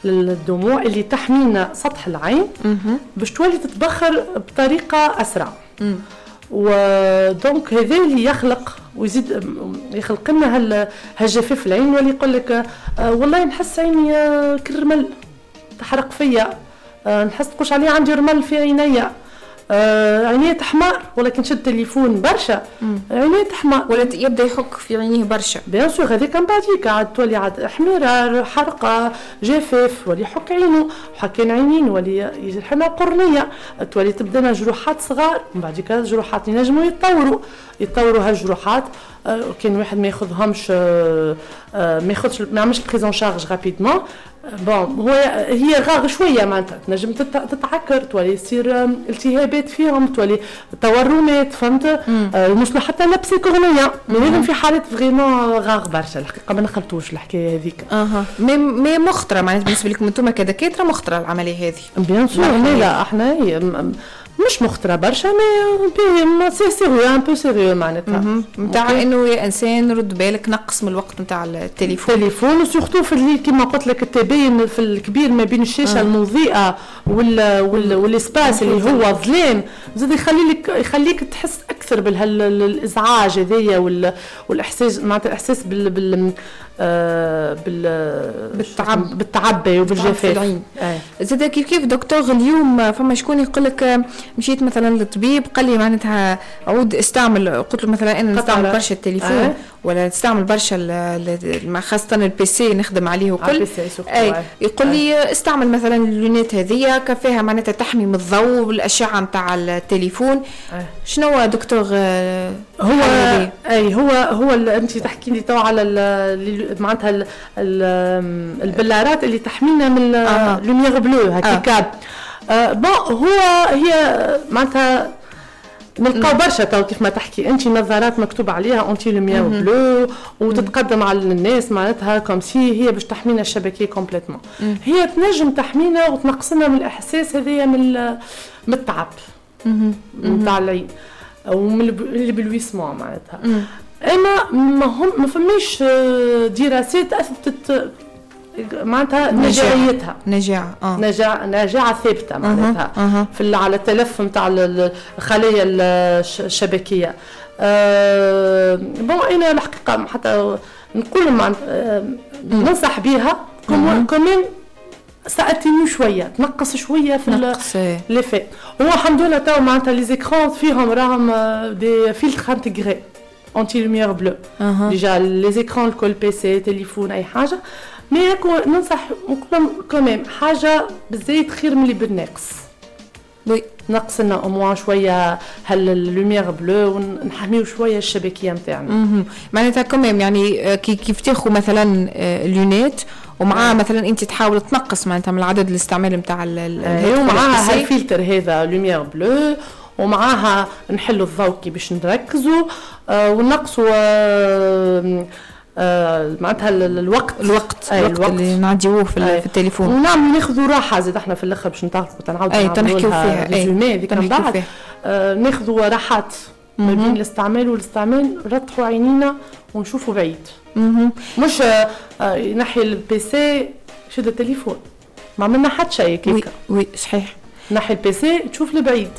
للدموع اللي تحمينا سطح العين باش تولي تتبخر بطريقة اسرع. و donc هذا اللي يخلق ويزيد يخلق لنا هالجفاف العين، واللي يقول لك والله نحس عيني كالرمل تحرق فيا، نحس تقولش عليه عندي رمل في عينيا، عينيه تحمر، ولكن شد التليفون برشا عينيه تحمر، ولا يبدا يحك في عينيه برشا. bien sûr هذيك من بعديك عاد تولي عاد حميره، حرقه، جفاف، ولي يحك عينه، حكين عينين، ولي يجرحنا قرنيه، تولي تبدا جروحات صغار، من بعديك الجروحات ينجموا يتطوروا هالجروحات. كان واحد ما ياخذهمش، ما ياخذش، ما يعملش prise en charge rapidement. bon هو هي rare شوية معناتها تنجم تتعكر، تولي يصير التهابات فيهم، تولي تورمات، فهمت؟ نوصلوا حتى l'abcès cornéen، mais لازم في حالات vraiment rares برشا الحقيقة، ما نخلطوش الحكاية هذيك. mais مخطره معناتها بالنسبة لكم انتم كدكاتره، مخطره العملية هذه؟ bien sûr، لا احنا مش مخطره برشا، mais c'est sérieux، un peu sérieux معناتها، نتاع انه يا انسان رد بالك، نقص من الوقت نتاع التليفون، و surtout في الليل كيما قلت لك، التباين في الكبير ما بين الشاشة المضيئة وال espace اللي هو ظلام، زاد يخليك تحس اكثر بالازعاج هذايا والاحساس، معناتها الاحساس بال بال بالتعب وبالجفاف. زاد كيف دكتور اليوم فما شكون يقول لك مشيت مثلا للطبيب قال لي معناتها عود استعمل، قلت له مثلا انا نستعمل برشا التليفون ولا نستعمل برشا خاصة ال PC نخدم عليه وكل، اي يقول لي استعمل مثلا ال lunettes هذيا كفاها معناتها تحمي من الضوء والاشعه نتاع التليفون. شنو دكتور؟ هو اي هو انت تحكي لي تو على معناتها البلارات اللي تحمينا من lumière bleue هكاك. bon هو هي معناتها نلقاو برشا تو كيف ما تحكي انت نظارات مكتوب عليها anti lumière bleue وتتقدم على الناس معناتها comme si هي باش تحمينا الشبكيه complètement. هي تنجم تحمينا وتنقصنا من الاحساس هذايا من التعب نتاع العين ومن l'éblouissement معناتها. اما ما فماش دراسات اثبتت معناتها نجاعيتها، نجاعة ثابتة معناتها في على التلف نتاع الخلايا الشبكية. bon انا الحقيقة حتى نقول ننصح بها quand même ça atténue شوية، تنقص شوية في l'effet. هو الحمد لله تو معناتها les écrans فيهم راهم des filtres intégrés anti lumière bleue déjà les écrans الكل، PC، تليفون، اي حاجة. mais ننصح نقول quand même حاجة بالزايد خير من اللي بالناقص. oui نقص لنا au moins شوية هال lumière bleue ونحميو شوية الشبكيه نتاعنا. معناتها quand même يعني كيف تاخذ مثلا lunettes ومعاه مثلا انت تحاول تنقص معناتها من العدد الاستعمال نتاع ومعاها هالفلتر هذا lumière bleue، ومعاها نحلوا الضوء كي باش نركزوا ونقصوا معناتها الوقت اللي نعديوه في التليفون، ونعمل ناخذوا راحة زاد احنا في الاخر باش نتعرفوا تنعاودوا نحكيو فيها résumé هذيك من بعد. ناخذوا راحات ما بين الاستعمال والاستعمال، نرتحوا عينينا ونشوفوا بعيد. مش نحي ال PC شد التليفون، ما عملنا حتى شيء كيك. oui صحيح، نحي ال PC تشوف لبعيد،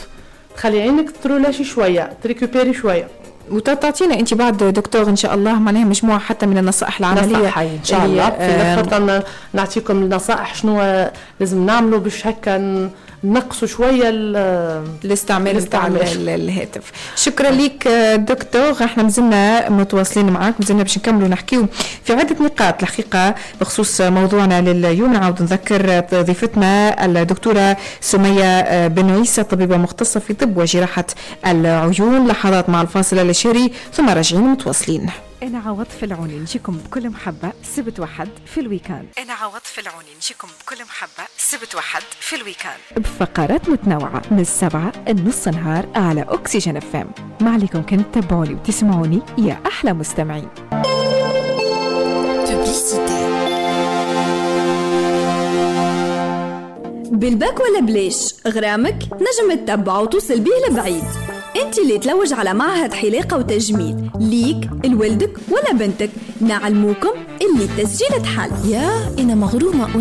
تخلي عينك ترولاشي شوية، تريكوبيري شوية. وتعطينا انت بعد دكتور ان شاء الله معناها مجموعة حتى من النصائح العملية ان شاء الله. في الاخر نعطيكم النصائح شنو لازم نعملوا باش هكا نقصوا شوية الاستعمال نتاع الهاتف. شكرا لك دكتور، احنا مازلنا متواصلين معاك، مازلنا باش نكملوا نحكيو في عده نقاط الحقيقة بخصوص موضوعنا لليوم. نعاود نذكر ضيفتنا الدكتورة سميه بن عيسى، طبيبه مختصة في طب وجراحه العيون. لحظات مع الفاصل الشهري ثم راجعين متواصلين. أنا عوض العوني نجيكم بكل محبة سبت وحد في ال week-end. أنا عوض العوني نجيكم بكل محبة سبت وحد في ال week-end بفقرات متنوعة من 7 لنص نهار على أكسجين FM. ما عليكم كان تتابعوني وتسمعوني يا أحلى مستمعين. بالباك ولا بلاش غرامك نجم تتبع وتوصل بيه لبعيد. انت اللي تلوج على معهد حلاقة وتجميل ليك لولدك ولا بنتك، نعلموكم اللي التسجيل تحل. يا انا مغرومة.